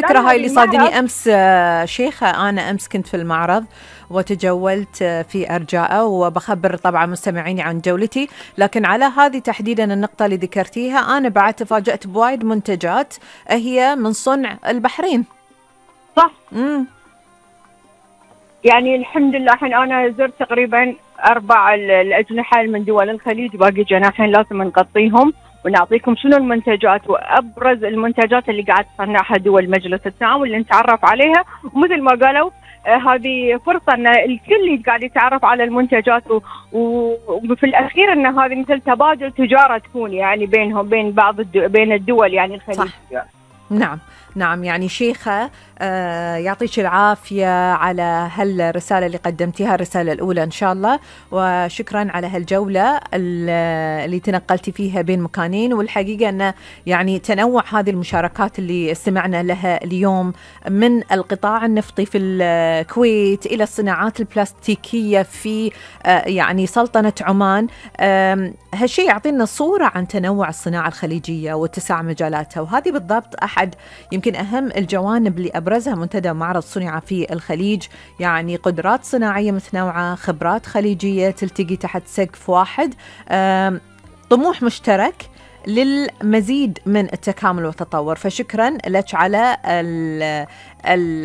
فكرة لا هاي اللي هذه المعرض. صادني أمس شيخة. أنا أمس كنت في المعرض وتجولت في أرجاءه، وبخبر طبعا مستمعيني عن جولتي، لكن على هذه تحديدا النقطة اللي ذكرتيها أنا بعد تفاجأت بوايد منتجات هي من صنع البحرين. صح. يعني الحمد لله الحين أنا زرت تقريبا 4 الأجنحة من دول الخليج، باقي جناحين لازم نغطيهم ونعطيكم شنو المنتجات وأبرز المنتجات اللي قاعد تصنعها دول مجلس التعاون اللي نتعرف عليها. ومثل ما قالوا هذه فرصة أن الكل قاعد يتعرف على المنتجات وفي الأخير أن هذه مثل تبادل تجارة تكون يعني بينهم بين بين الدول يعني الخليج. صح. نعم يعني شيخة يعطيك العافية على هالرسالة اللي قدمتيها، الرسالة الأولى إن شاء الله، وشكرا على هالجولة اللي تنقلتي فيها بين مكانين. والحقيقة أن يعني تنوع هذه المشاركات اللي استمعنا لها اليوم من القطاع النفطي في الكويت إلى الصناعات البلاستيكية في يعني سلطنة عمان، هالشيء يعطينا صورة عن تنوع الصناعة الخليجية واتساع مجالاتها. وهذه بالضبط أحد يمكن أهم الجوانب اللي أبرزها منتدى معرض صنع في الخليج، يعني قدرات صناعية متنوعة، خبرات خليجية تلتقي تحت سقف واحد، طموح مشترك للمزيد من التكامل والتطور. فشكرا لك على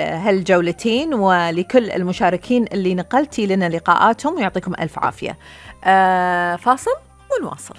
هالجولتين ولكل المشاركين اللي نقلتي لنا لقاءاتهم، ويعطيكم ألف عافية. فاصل ونواصل.